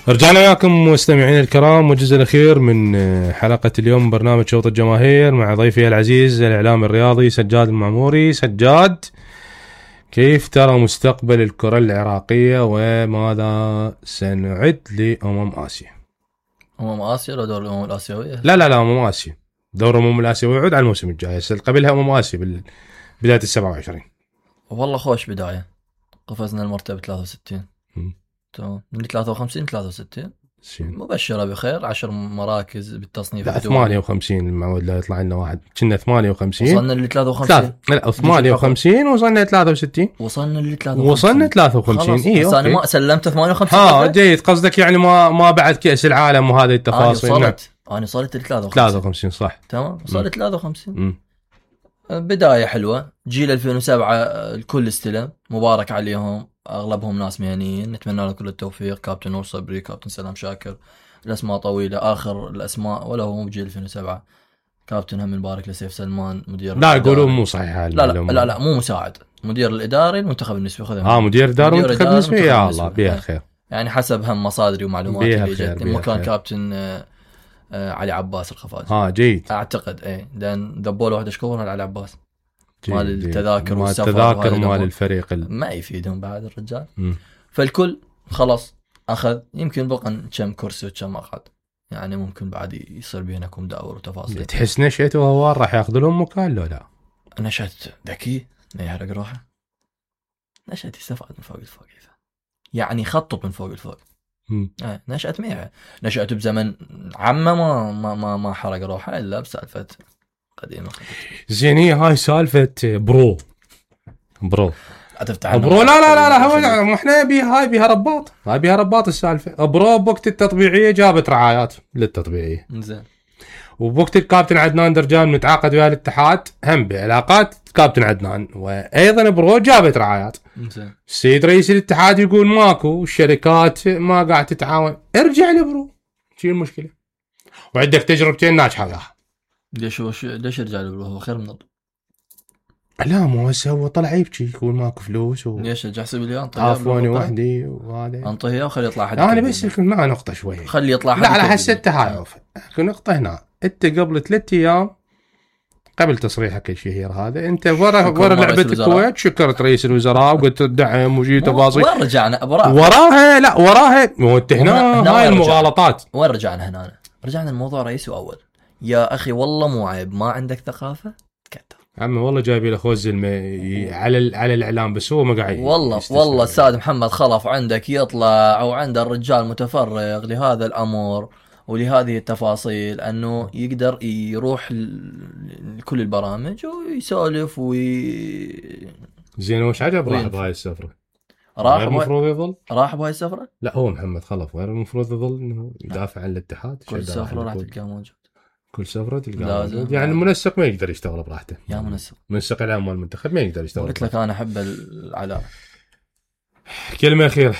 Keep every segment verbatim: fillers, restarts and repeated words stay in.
رجعنا وياكم مستمعين الكرام والجزء الأخير من حلقة اليوم برنامج شوط الجماهير مع ضيفي العزيز الإعلام الرياضي سجاد المعموري. سجاد، كيف ترى مستقبل الكرة العراقية وماذا سنعد لأمم آسيا؟ أمم آسيا ولا دور الأمم الآسيوية؟ لا لا لا أمم آسيا. دور الأمم الآسيوية يعود على الموسم الجاي، قبلها أمم آسيا بداية السبعة وعشرين. والله خوش بداية، قفزنا المرتبة ثلاثة وستين تمام من ثلاثة وخمسين ثلاثة وستين، مبشرة بخير. عشر مراكز بالتصنيف. لا ثمانية وخمسين المعود لا يطلع لنا واحد، كنا ثمانية وخمسين وصلنا ل ثلاثة وخمسين. لا ثمانية وخمسين وصلنا ثلاثة وستين. وصلنا ل ثلاثة وخمسين وصلنا ثلاثة وخمسين. ايوه انا ما سلمت ثمانية وخمسين. ها جيد، قصدك يعني ما ما بعد كأس العالم وهذه التفاصيل. انا وصلت نعم. انا وصلت ل ثلاثة وخمسين. ثلاثة وخمسين صح تمام، وصلت ثلاثة وخمسين. م. بداية حلوة. جيل ألفين وسبعة الكل استلم، مبارك عليهم، اغلبهم ناس مهنيين، نتمنى لهم كل التوفيق. كابتن نور صبري، كابتن سلام شاكر، الاسماء طويله. اخر الاسماء ولا هو بجيل ألفين وسبعة كابتن هم مبارك لسيف سلمان مدير. لا يقولون مو صحيح. لا لا, لا لا مو مساعد، مدير الاداري المنتخب النسبي. خذها اه مدير اداري المنتخب النسبي. يا الله بيها خير، يعني حسب هم مصادري ومعلوماتي اللي جت. مكان كابتن آه آه علي عباس الخفاجي. اه جيد اعتقد ايه، لان ذبوله واحد اشكورنا علي عباس مال التذاكر والسفر التذاكر مال الفريق ال... ما يفيدهم بعد الرجال. م. فالكل خلاص اخذ، يمكن بقى كم كرسي وكم مقعد، يعني ممكن بعد يصير بينكم داور وتفاصيل. تحس نشأت وهو راح ياخذ لهم مكان لو لا؟ نشأت ذكي ما يحرق روحه، نشأت يستفاد من فوق الفوق، يعني خطط من فوق الفوق. آه. نشأت ميعه، نشأت بزمن عمه ما ما ما, ما حرق روحه الا بسالفه قديمه. زين هي هاي سالفه برو برو برو لا لا لا لا هو احنا بي هاي بيها رباط، هاي بيها رباط السالفه. برو بوقت التطبيعيه جابت رعايات للتطبيعيه، زين. وبوقت الكابتن عدنان درجان متعاقد ويا الاتحاد هم بعلاقات كابتن عدنان، وايضا برو جابت رعايات. زين. السيد رئيس الاتحاد يقول ماكو، والشركات ما قاعد تتعاون. ارجع لبرو، شو المشكله؟ وعندك تجربتين ناجحه وياها. ليش هو ليش يرجع له؟ هو خير من ضد. لا مو هسه هو طلع يبكي يقول ماكو فلوس و... ليش جحسب لي انطيه عفوني وحدي وهذا انطيه وخلي يطلع حد. انا بس يكون معه نقطه شويه، خلي يطلع حد. لا على حسه التهايف نقطه هنا. انت قبل ثلاثة ايام قبل تصريحك الشهير هذا انت ورا ورا لعبه الكويت شكرت رئيس الوزراء وقلت الدعم وجي تفاصيل. وين رجعنا وراها؟ وراها لا وراها مو هنا هاي المغالطات. وين رجعنا هنا؟ رجعنا الموضوع رئيسي واول. يا اخي والله مو عيب ما عندك ثقافه كتر عمي، والله جايبي له خوز المي... على على الاعلام بس هو ما قاعد. والله والله السيد محمد خلف عندك يطلع او عند الرجال متفرغ لهذا الامر ولهذه التفاصيل، انه يقدر يروح لكل البرامج ويسولف وي زين. وش عجب راح بهاي السفره؟ راح المفروض يظل راح بهاي السفره؟ لا هو محمد خلف غير المفروض يظل انه يدافع عن الاتحاد. كل سفره راح تلقاه موجود، كل سفره تلقاه موجود. يعني المنسق ما يقدر يشتغل براحته. يا منسق منسق الاعلام مال المنتخب ما يقدر يشتغل. قلت لك انا احب العلاء. كلمه اخيره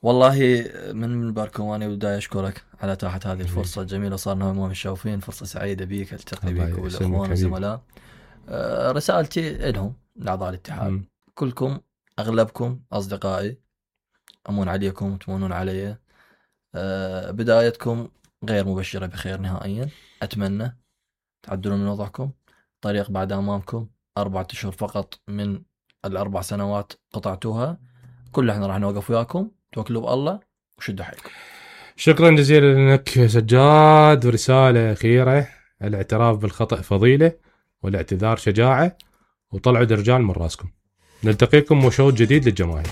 والله من باركواني بداية أشكرك على إتاحة هذه الفرصة الجميلة. صارنا ما مشوفين، فرصة سعيدة بيك التقي بيك والأخوان والزملاء. أه رسالتي لهم لأعضاء الاتحاد م. كلكم أغلبكم أصدقائي، أمون عليكم وتمونون علي. أه بدايتكم غير مبشرة بخير نهائيا. أتمنى تعدلون من وضعكم. طريق بعد أمامكم، أربعة أشهر فقط من الأربع سنوات قطعتوها. كل احنا راح نوقف وياكم، توكلوا بالله وشدوا حيلكم. شكرا جزيلا لك سجاد. ورسالة أخيرة: الاعتراف بالخطأ فضيلة والاعتذار شجاعة، وطلعوا درجال من راسكم. نلتقيكم وشوط جديد للجماهير.